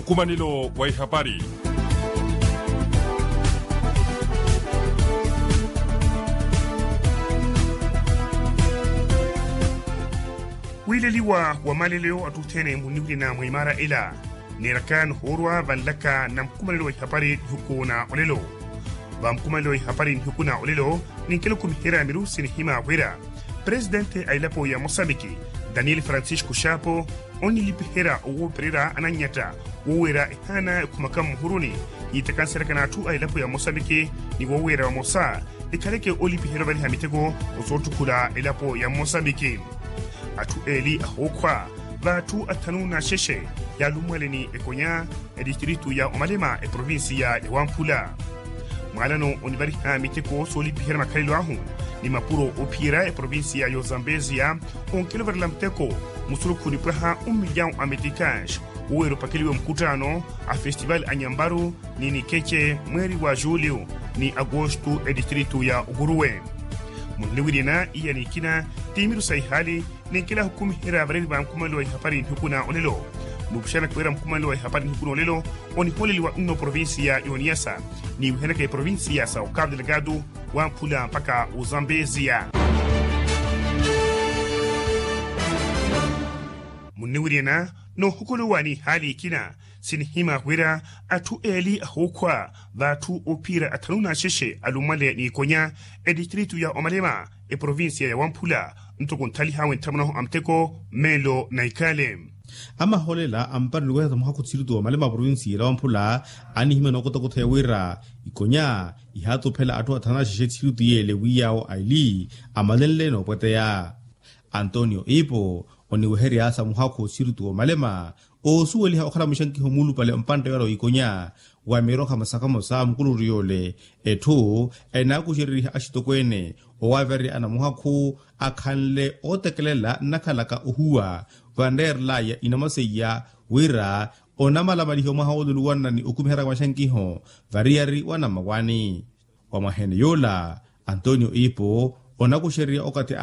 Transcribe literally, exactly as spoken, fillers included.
Nkumanelo wa ihapari. Wiileliwa wa malelo atthu othene munniwirina mwa imaara ela. Neeraka nihoorwa vanlaka na nkumanelo wa ihapari nihuku na olelo. Va nkumanelo wa ihapari nihuku na olelo, ninkela okhumiherya miru sinihima wira presidente a elapo ya mosambiki, daniel francisco xapo, onnilipiherya owoopererya anannyata wooweera ehaana ekhumaka mmuhuruni, yiitakanseryaka n'atthu a elapo ya mosambiki, ni wooweera vamosa ekhaleke olipiherya ovaliha miteko osootthukhula elapo ya mosambiki. Atthu eeli ahookhwa v'atthu athanu n'axexe yaalummwale ni ekonya, edistritu ya omalema eprovinsiya ya wamphula. Mwaalano onivariha miteko soolipiherya makhalelo ahu ni mapuro oophiyerya eprovinsiya ya ozambeziya, onkela ovarela muteko musurukhu nipwaha un milyawu a metikaaxi, woweera opakeliwe mukuttaano a festival a nyambaru ni nikece mweeri wa juliu ni agostu edistritu ya okuruwe. Munniwirina iya nikina, tiimiru sa ihaali ninkela ahukumiherya vareeri va nkumanelo wa ihapari nihiku na olelo. Nuupuxanaka wira nkumanelo wa ihapari nihiku na olelo onihooleliwa nno provinsiya ya oniyasa, niiwihanaka eprovinsiya sa okapu delegado wamphula mpaka ozambeziya. Munniwirina noohukuluwa n'ihaali ikina, sinihima wira atthu eeli ahookhwa v'atthu oophiyerya athanu n'axexe alummwale n'ikonya, edistritu ya omalema eprovinsiya ya wamphula, ntoko nthaliha awe ntthamunahu a muteko meelo na ikale. Amahoolela ampareliwehesa muhakhu tthiritu wa omalema provinsiya ya wamphula, anihimya nookotakotheya wira ikonya ihaatuphela atthu athanu n'axexe tthiritu yeele wi yaawo aili amalenle noopweteya. Antonio ipo oniweheryasa muhakhu tthiritu wa omalema, oosuweliha okhala muxankiho muulupale mpantte yoora w'ikonya wa miroha masaka mosa mukuluri yoole, etthu enaakuxereriha axitokweene owavererya anamuhakhu akhanle ootekelela nnakhalaka ohuwa vanreerelaya inamaseiya wira onamalamaliha omwaha wooluluwanna ni okumiherya maxankiho variyari wa namawani. Wa mwahene yoola antonio ipo onakuxererya okathi